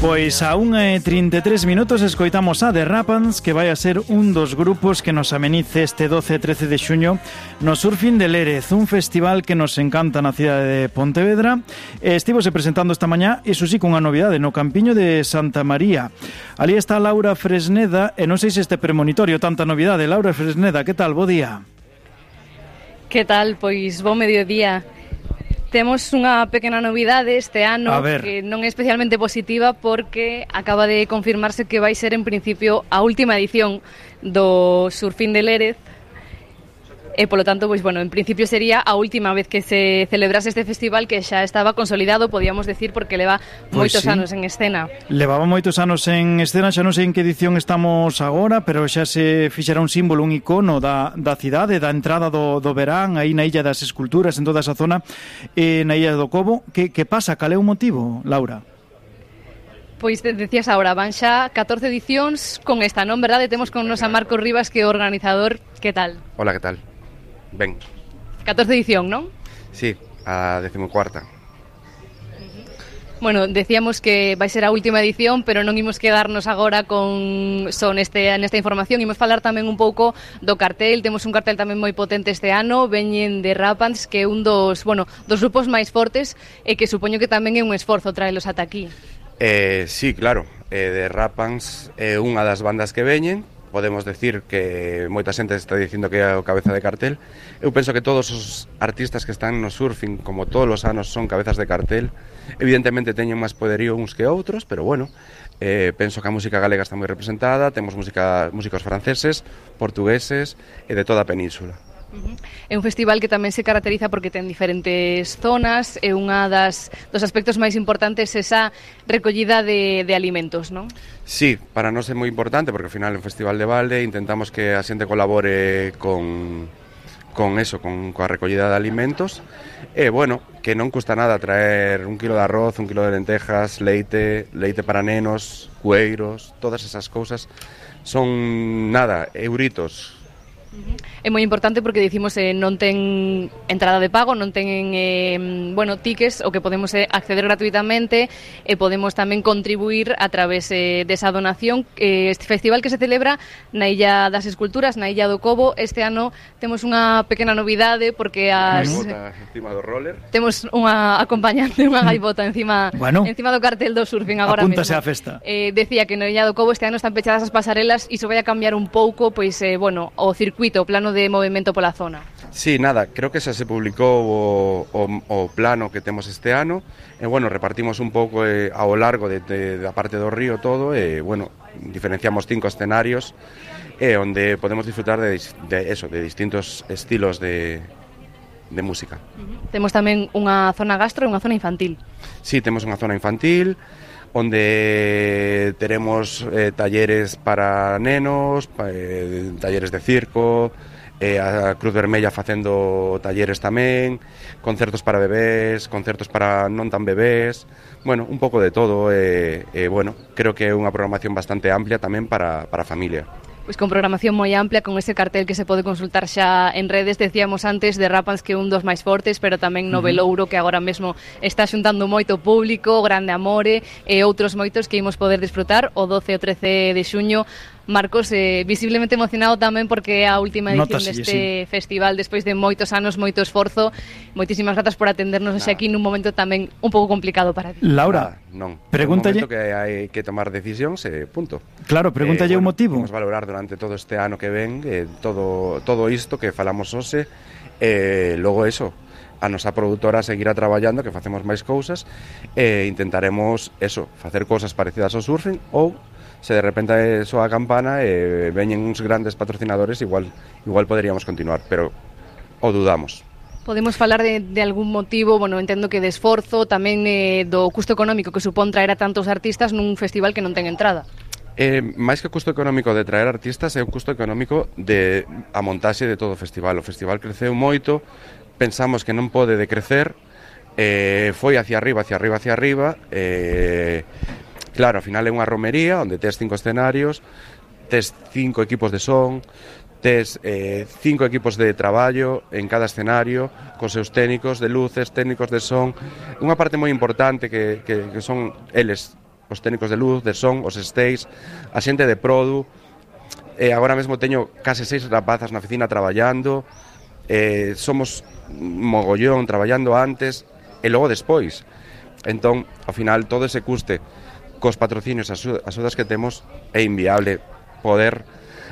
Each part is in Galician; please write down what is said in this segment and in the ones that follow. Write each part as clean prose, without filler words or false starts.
Pois a 1:33 escoitamos a The Rapans, que vai a ser un dos grupos que nos amenice este 12 e 13 de xuño no Surfing de Lérez, un festival que nos encanta na cidade de Pontevedra. Estivose presentando esta mañá, iso sí, cunha novidade, no Campiño de Santa María. Ali está Laura Fresneda, e non sei se este premonitorio tanta novidade. Laura Fresneda, que tal? Bo día. Que tal? Pois bo mediodía. Temos unha pequena novidade este ano que non é especialmente positiva porque acaba de confirmarse que vai ser en principio a última edición do Surfing de Lérez e polo tanto, pois bueno, en principio sería a última vez que se celebrase este festival que xa estaba consolidado, podíamos decir, porque leva moitos anos en escena. Levaba moitos anos en escena, xa non sei en que edición estamos agora, pero xa se fixera un símbolo, un icono da cidade, da entrada do verán, aí na Illa das Esculturas, en toda esa zona, na Illa do Cobo. Que pasa? Cal é o motivo, Laura? Pois decías agora, van xa 14 edicións con esta, non? Verdade? Temos con nos a Marcos Rivas, que é o organizador. Que tal? Hola, que tal? Ben. 14 edición, non? Sí, a 14ª. Bueno, decíamos que vai ser a última edición, pero non imos quedarnos agora con nesta información. Imos falar tamén un pouco do cartel. Temos un cartel tamén moi potente este ano. Veñen de Rapans, que é un dos grupos máis fortes e que supoño que tamén é un esforzo traelos ata aquí. Sí, claro. De Rapans é unha das bandas que veñen. Podemos decir que moita xente está dicindo que é o cabeza de cartel. Eu penso que todos os artistas que están no surfing, como todos os anos, son cabezas de cartel. Evidentemente teñen máis poderío uns que outros, pero bueno, penso que a música galega está moi representada. Temos músicos franceses, portugueses e de toda a península. É un festival que tamén se caracteriza porque ten diferentes zonas, é unha dos aspectos máis importantes esa recollida de alimentos, non? Sí, para nós é moi importante porque ao final é un festival de balde, intentamos que a xente colabore con coa recollida de alimentos e, bueno, que non custa nada traer 1 kilo de arroz, 1 kilo de lentejas, leite para nenos, cueiros, todas esas cousas son nada, euritos. É moi importante porque dicimos non ten entrada de pago, non ten tickets, o que podemos acceder gratuitamente e podemos tamén contribuir a través desa donación. Este festival que se celebra na Illa das Esculturas, na Illa do Cobo. Este ano temos unha pequena novidade porque gaivota encima do roller. Temos unha acompañante, unha gaivota encima do cartel do surfing agora mesmo. Apúntase á festa. Decía que na Illa do Cobo este ano están pechadas as pasarelas e iso vai a cambiar un pouco, pois o circuito, o plano de movimento pola zona. Sí, nada, creo que xa se publicou o plano que temos este ano e, repartimos un pouco ao largo da parte do río todo e, diferenciamos 5 escenarios onde podemos disfrutar de distintos estilos de música. Temos tamén unha zona gastro e unha zona infantil. Sí, temos unha zona infantil onde teremos talleres para nenos, talleres de circo, a Cruz Vermella facendo talleres tamén, concertos para bebés, concertos para non tan bebés, un pouco de todo creo que é unha programación bastante amplia tamén para a familia. Pois con programación moi amplia, con ese cartel que se pode consultar xa en redes. Decíamos antes de Rapans que é un dos máis fortes, pero tamén no Velouro, que agora mesmo está xuntando moito público, Grande Amore e outros moitos que imos poder disfrutar o 12 e o 13 de xuño. Marcos, visiblemente emocionado tamén porque é a última edición deste festival despois de moitos anos, moito esforzo. Moitísimas grazas por atendernos aquí nun momento tamén un pouco complicado para ti. Laura, pregúntalle... É un momento que hai que tomar decisións punto. Claro, pregúntalle o motivo. Vamos valorar durante todo este ano que ven todo isto que falamos hoxe logo eso, a nosa produtora seguirá traballando, que facemos máis cousas e intentaremos facer cousas parecidas ao surfing ou se de repente soa a campana e veñen uns grandes patrocinadores, igual poderíamos continuar, pero o dudamos. Podemos falar de algún motivo, entendo que de esforzo, tamén do custo económico que supón traer a tantos artistas nun festival que non ten entrada. Máis que o custo económico de traer artistas, é o custo económico de a montaxe de todo o festival. O festival creceu moito, pensamos que non pode decrecer, foi hacia arriba, claro, ao final é unha romería onde tes 5 escenarios, tes 5 equipos de son, tes 5 equipos de traballo en cada escenario, con seus técnicos de luces, técnicos de son. Unha parte moi importante que son eles os técnicos de luz, de son, os stage, a xente de produ. Agora mesmo teño case 6 rapazas na oficina traballando, somos mogollón traballando antes e logo despois. Entón, ao final, todo ese custe cos patrocinios, as axudas que temos, é inviable poder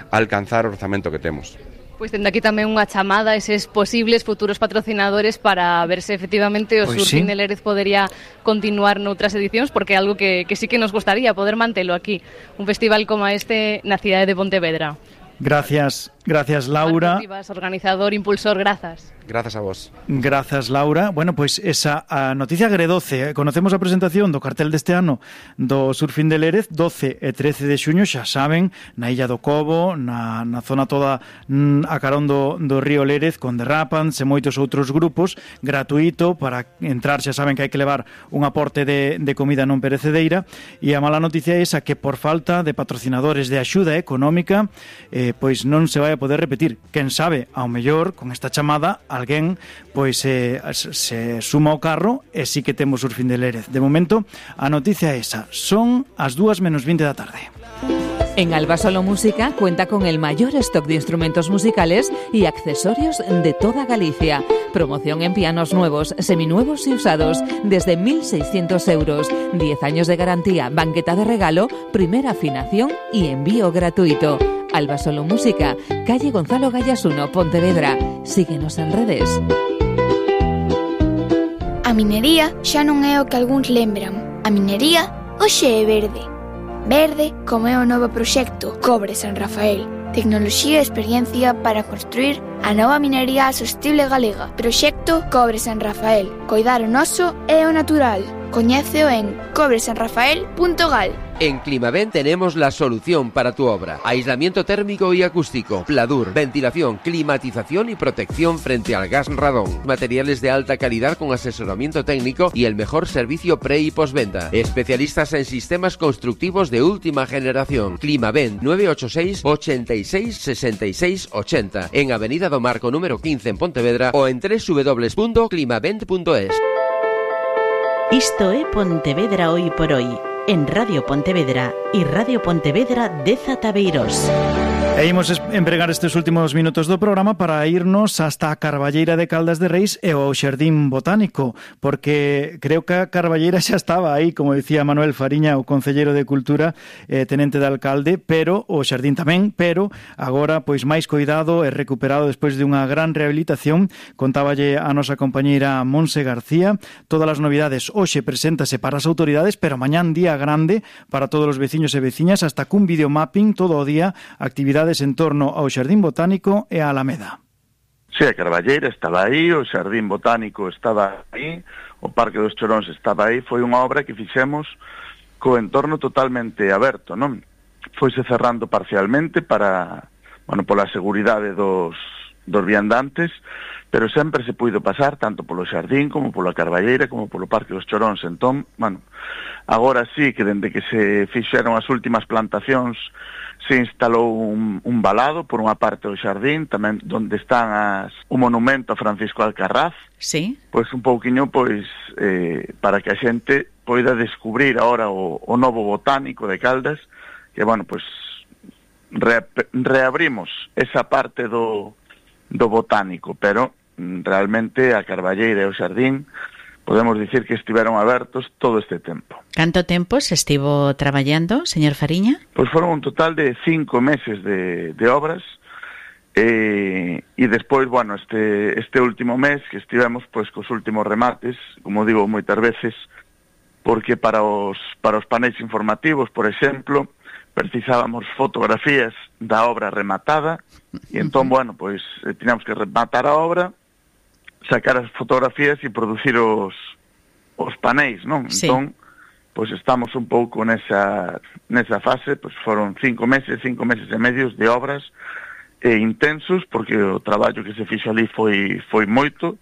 alcanzar o orzamento que temos. Pois tendo aquí tamén unha chamada a eses posibles futuros patrocinadores para ver se efectivamente o Surfing de Lérez podería continuar noutras edicións, porque é algo que sí que nos gustaría poder mantelo aquí, un festival como este na cidade de Pontevedra. Gracias, Laura. Organizador, impulsor, grazas. Grazas a vos. Grazas, Laura. Bueno, pois esa a noticia agredoce. Conocemos a presentación do cartel deste ano do Surfing de Lérez, 12 e 13 de xuño, xa saben, na Illa do Cobo, na zona toda a carón do río Lérez, con The Rapans e moitos outros grupos, gratuito, para entrar xa saben que hai que levar un aporte de comida non perecedereira, e a mala noticia é esa, que por falta de patrocinadores de axuda económica, pois non se vai a poder repetir. Quen sabe, ao mellor, con esta chamada, alguén pois se suma ao carro e sí que temos Surfing de Lérez. De momento, a noticia é esa. Son as 2:20 da tarde. En Albasolo Música cuenta con el mayor stock de instrumentos musicales y accesorios de toda Galicia. Promoción en pianos nuevos, seminuevos y usados desde 1.600 euros. 10 años de garantía, banqueta de regalo, primera afinación y envío gratuito. Albasolo Música, calle Gonzalo Gallas 1, Pontevedra. Síguenos en redes. A minería xa non é o que algúns lembran. A minería hoxe é verde. Verde como é o novo proxecto Cobre San Rafael. Tecnoloxía e experiencia para construir a nova minería sostible galega. Proxecto Cobre San Rafael. Coidar o noso e o natural. Coñéceo en cobresanrafael.gal. En Climavent tenemos la solución para tu obra. Aislamiento térmico y acústico, pladur, ventilación, climatización y protección frente al gas radón. Materiales de alta calidad con asesoramiento técnico y el mejor servicio pre y postventa. Especialistas en sistemas constructivos de última generación. Climavent 986 86 66 80 en Avenida do Marco número 15 en Pontevedra o en www.climavent.es. Isto é Pontevedra hoy por hoy, en Radio Pontevedra e Radio Pontevedra de Zataveiros. E imos empregar estes últimos minutos do programa para irnos hasta a Carballeira de Caldas de Reis e ao Xardín Botánico, porque creo que a Carballeira xa estaba aí, como dicía Manuel Fariña, o concelleiro de Cultura, tenente de alcalde, pero o Xardín tamén, pero agora pois máis coidado e recuperado despois de unha gran rehabilitación. Contáballe a nosa compañeira Monse García. Todas as novidades hoxe preséntase para as autoridades, pero mañán día grande para todos os veciños e veciñas, hasta cun videomapping todo o día, actividades en torno ao Xardín Botánico e a Alameda. Sí, a Carballeira estaba aí, o Xardín Botánico estaba aí, o Parque dos Choróns estaba aí. Foi unha obra que fixemos co entorno totalmente aberto, non? Foise cerrando parcialmente para, bueno, pola seguridade dos viandantes, pero sempre se puido pasar tanto polo Xardín como pola Carballeira como polo Parque dos Choróns. Entón, bueno, agora sí que dende que se fixeron as últimas plantacións se instalou un valado por unha parte do xardín, tamén onde están o monumento a Francisco Alcarraz. Sí. Pois un pouquiño, pois, para que a xente poida descubrir agora o novo botánico de Caldas, que, bueno, pois, reabrimos esa parte do botánico, pero realmente a Carballeira e o xardín podemos dicir que estiveron abertos todo este tempo. Canto tempo se estivo traballando, señor Fariña? Pois foron un total de 5 meses de obras, e despois, bueno, este último mes que estivemos pois cos últimos remates, como digo moitas veces, porque para os paneis informativos, por exemplo, precisábamos fotografías da obra rematada, e entón, bueno, pois tiñamos que rematar a obra, sacar as fotografías e producir os paneis, non? Sí. Entón, pois estamos un pouco nesa fase, pois foron 5 meses e medios de obras intensos, porque o traballo que se fixo ali foi moito,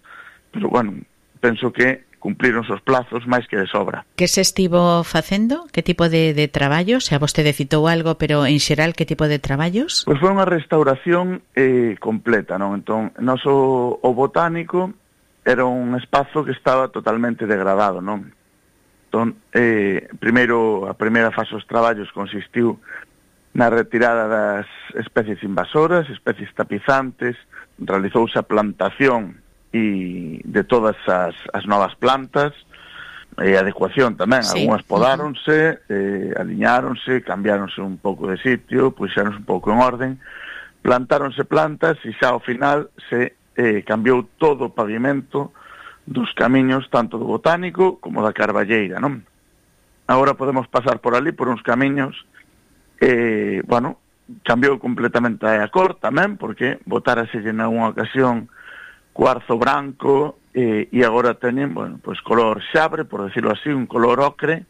pero, bueno, penso que cumpriron os plazos máis que de sobra. Que se estivo facendo? Que tipo de traballos? Xa vostede citou algo, pero en xeral que tipo de traballos? Pois foi unha restauración completa, non? Entón, o botánico era un espazo que estaba totalmente degradado, non? Entón, primeiro, a primeira fase dos traballos consistiu na retirada das especies invasoras, especies tapizantes, realizouse a plantación de todas as novas plantas, e adecuación tamén, algunhas podáronse, aliñáronse, cambiáronse un pouco de sitio, puxéronse un pouco en orden, plantáronse plantas e xa ao final se cambiou todo o pavimento dos camiños tanto do Botánico como da Carballeira, non? Agora podemos pasar por ali, por uns camiños, bueno, cambiou completamente a cor tamén, porque botáraselle na unha ocasión cuarzo branco e agora teñen, bueno, pois color xabre, por decirlo así, un color ocre,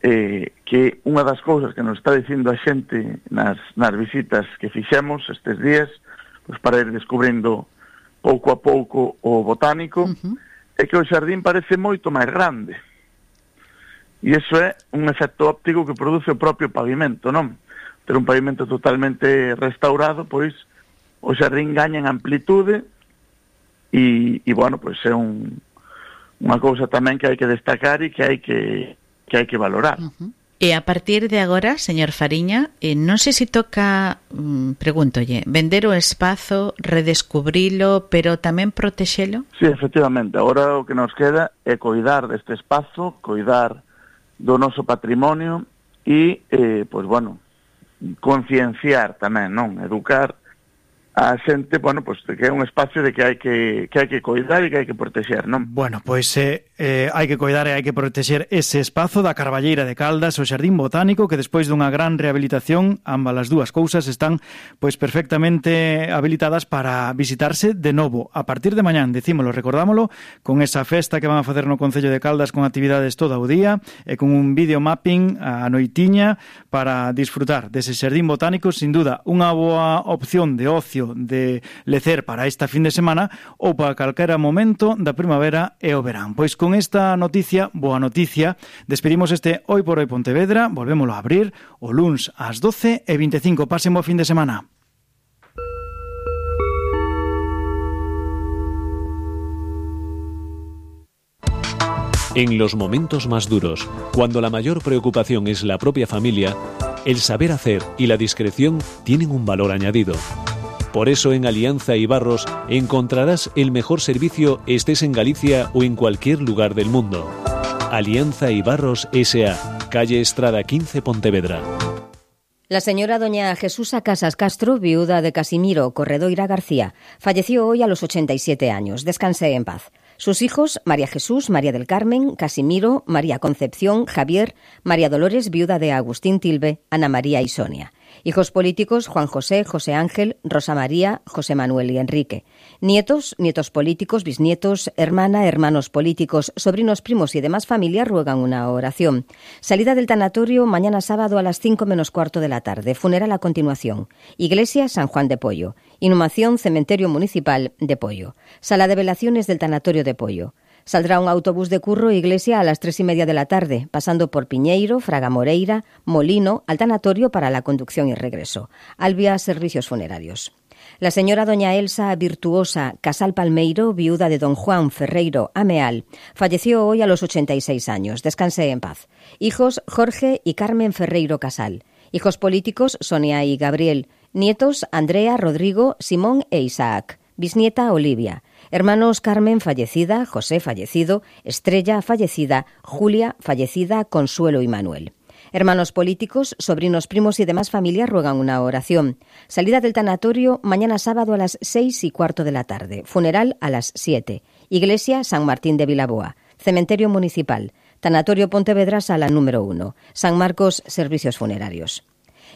que unha das cousas que nos está dicindo a xente nas visitas que fixemos estes días, pois para ir descubrindo pouco a pouco o Botánico, é que o xardín parece moito máis grande. E iso é un efecto óptico que produce o propio pavimento, non? Ter un pavimento totalmente restaurado, pois o xardín gaña en amplitude e bueno, pois é unha cousa tamén que hai que destacar e que hai que valorar. E a partir de agora, señor Fariña, non sei se toca, pregúntolle, vender o espazo, redescubrilo, pero tamén protexelo? Sí, efectivamente. Agora o que nos queda é coidar deste espazo, coidar do noso patrimonio e, pois, bueno, concienciar tamén, non? Educar a xente, bueno, pois, de que é un espacio de que hai que coidar e que hai que protexer, non? Bueno, pois hai que coidar e hai que protexer ese espazo da Carballeira de Caldas, o Xardín Botánico, que despois dunha gran rehabilitación, ambas as dúas cousas están pois perfectamente habilitadas para visitarse de novo. A partir de mañán, dicímolo, recordámolo, con esa festa que van a facer no Concello de Caldas con actividades todo o día e con un videomapping a noitiña para disfrutar dese Xardín Botánico, sin duda, unha boa opción de ocio, de lecer para esta fin de semana ou para calquera momento da primavera e o verán. Pois con esta noticia, boa noticia, despedimos este Hoy por Hoy Pontevedra, volvémolo a abrir o luns ás 12:25. Pasen bo fin de semana. En los momentos más duros, cuando la mayor preocupación es la propia familia, el saber hacer y la discreción tienen un valor añadido. Por eso en Alianza Ibarros encontrarás el mejor servicio estés en Galicia o en cualquier lugar del mundo. Alianza Ibarros S.A., calle Estrada 15, Pontevedra. La señora doña Jesusa Casas Castro, viuda de Casimiro Corredoira García, falleció hoy a los 87 años. Descanse en paz. Sus hijos, María Jesús, María del Carmen, Casimiro, María Concepción, Javier, María Dolores, viuda de Agustín Tilbe, Ana María y Sonia. Hijos políticos, Juan José, José Ángel, Rosa María, José Manuel y Enrique. Nietos, nietos políticos, bisnietos, hermana, hermanos políticos, sobrinos, primos y demás familia ruegan una oración. Salida del tanatorio mañana sábado a las 5:15 de la tarde. Funeral a continuación. Iglesia San Juan de Pollo. Inhumación Cementerio Municipal de Pollo. Sala de velaciones del tanatorio de Pollo. Saldrá un autobús de Curro Iglesia a las 3:30 de la tarde, pasando por Piñeiro, Fraga Moreira, Molino, al tanatorio para la conducción y regreso. Albia Servicios Funerarios. La señora doña Elsa Virtuosa Casal Palmeiro, viuda de don Juan Ferreiro Ameal, falleció hoy a los 86 años. Descanse en paz. Hijos Jorge y Carmen Ferreiro Casal. Hijos políticos Sonia y Gabriel. Nietos Andrea, Rodrigo, Simón e Isaac. Bisnieta Olivia. Hermanos Carmen fallecida, José fallecido, Estrella fallecida, Julia fallecida, Consuelo y Manuel. Hermanos políticos, sobrinos, primos y demás familias ruegan una oración. Salida del tanatorio mañana sábado a las 6:15 de la tarde. Funeral a las 7. Iglesia San Martín de Vilaboa. Cementerio Municipal. Tanatorio Pontevedra, sala número 1. San Marcos, Servicios Funerarios.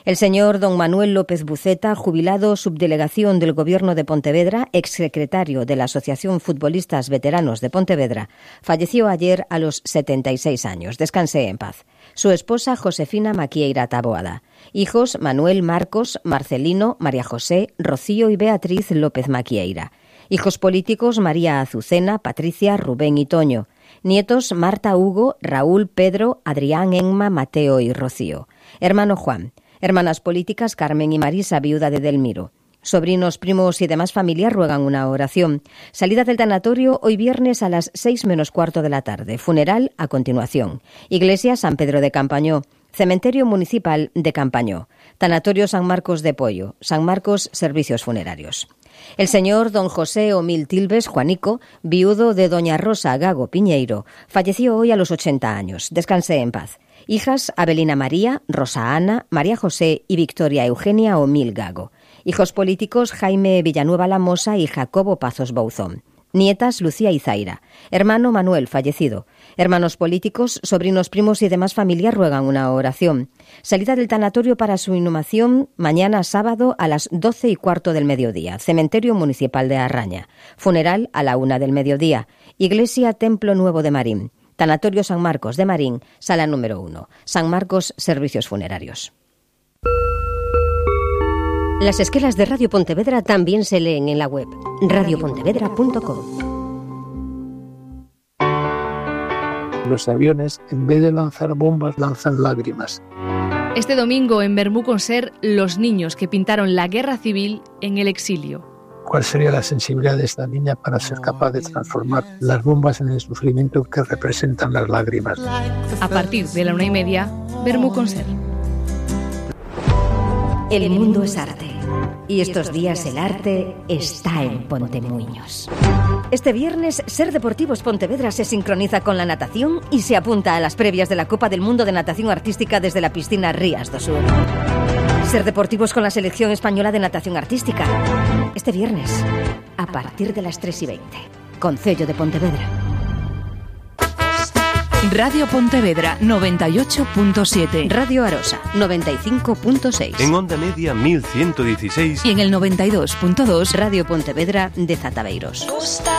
El señor don Manuel López Buceta, jubilado subdelegación del Gobierno de Pontevedra, exsecretario de la Asociación Futbolistas Veteranos de Pontevedra, falleció ayer a los 76 años. Descanse en paz. Su esposa Josefina Maquieira Taboada. Hijos Manuel, Marcos, Marcelino, María José, Rocío y Beatriz López Maquieira. Hijos políticos María Azucena, Patricia, Rubén y Toño. Nietos Marta, Hugo, Raúl, Pedro, Adrián, Enma, Mateo y Rocío. Hermano Juan. Hermanas políticas Carmen y Marisa, viuda de Delmiro. Sobrinos, primos y demás familia ruegan una oración. Salida del tanatorio hoy viernes a las 6 menos cuarto de la tarde. Funeral a continuación. Iglesia San Pedro de Campañó. Cementerio Municipal de Campañó. Tanatorio San Marcos de Pollo. San Marcos Servicios Funerarios. El señor don José Omil Tilbes Juanico, viudo de doña Rosa Gago Piñeiro, falleció hoy a los 80 años. Descanse en paz. Hijas Abelina María, Rosa Ana, María José y Victoria Eugenia Omil Gago. Hijos políticos Jaime Villanueva Lamosa y Jacobo Pazos Bouzón. Nietas Lucía y Zaira. Hermano Manuel, fallecido. Hermanos políticos, sobrinos, primos y demás familia ruegan una oración. Salida del tanatorio para su inhumación mañana sábado a las 12:15 del mediodía. Cementerio Municipal de Arraña. Funeral a la 1 del mediodía. Iglesia Templo Nuevo de Marín. Tanatorio San Marcos de Marín, sala número 1. San Marcos Servicios Funerarios. Las esquelas de Radio Pontevedra también se leen en la web radiopontevedra.com. Los aviones, en vez de lanzar bombas, lanzan lágrimas. Este domingo en Bermú Conser, los niños que pintaron la guerra civil en el exilio. ¿Cuál sería la sensibilidad de esta niña para ser capaz de transformar las bombas en el sufrimiento que representan las lágrimas? A partir de la 1:30, Bermú Conser. El mundo es arte. Y estos días el arte está en Pontemuiños. Este viernes, Ser Deportivos Pontevedra se sincroniza con la natación y se apunta a las previas de la Copa del Mundo de Natación Artística desde la piscina Rías do Sur. Ser Deportivos con la selección española de natación artística. Este viernes, a partir de las 3:20. Concello de Pontevedra. Radio Pontevedra 98.7. Radio Arosa 95.6. En onda media 1116. Y en el 92.2 Radio Pontevedra de Zataveiros.